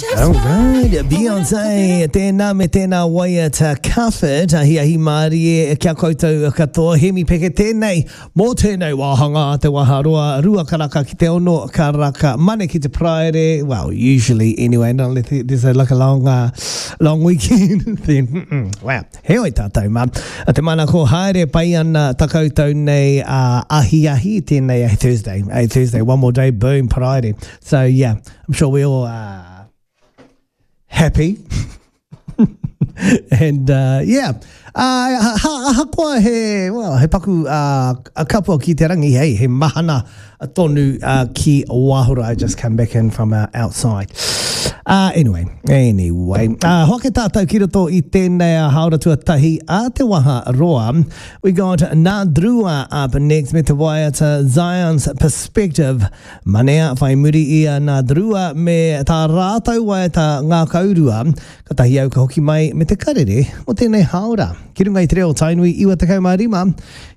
All right, Beyonce, tēnā me tēnā waiata Cuff It, ahiahi mārie kia koutou katoa, Hemi Peke tēnei, mō tēnei wāhanga a te waharoa, 2 karaka ki te 6 karaka, Mane ki te Paraire, well, usually anyway, not unless there's a, like a long, long weekend, then, wow, heoi tātou mā. A te manako haere pai ana ta koutou nei ahiahi, tēnei a Thursday, a Thursday, one more day, boom, Paraire. So yeah, I'm sure we all are happy. And yeah, ahakoa he, well, he paku kapua ki te rangi, hey, he mahana tonu ki Wahura. I just come back in from outside. Anyway, hoake tātou ki roto i tēnei haora tuatahi a te waha roa. We got Nadrua up next me te waiata Zion's Perspective. Manea, whai muri i a Nadrua me tā rātou waiata ngākaurua, katahi au ka hoki mai me te karere o tēnei haora. Ki runga i te reo Tainui 95.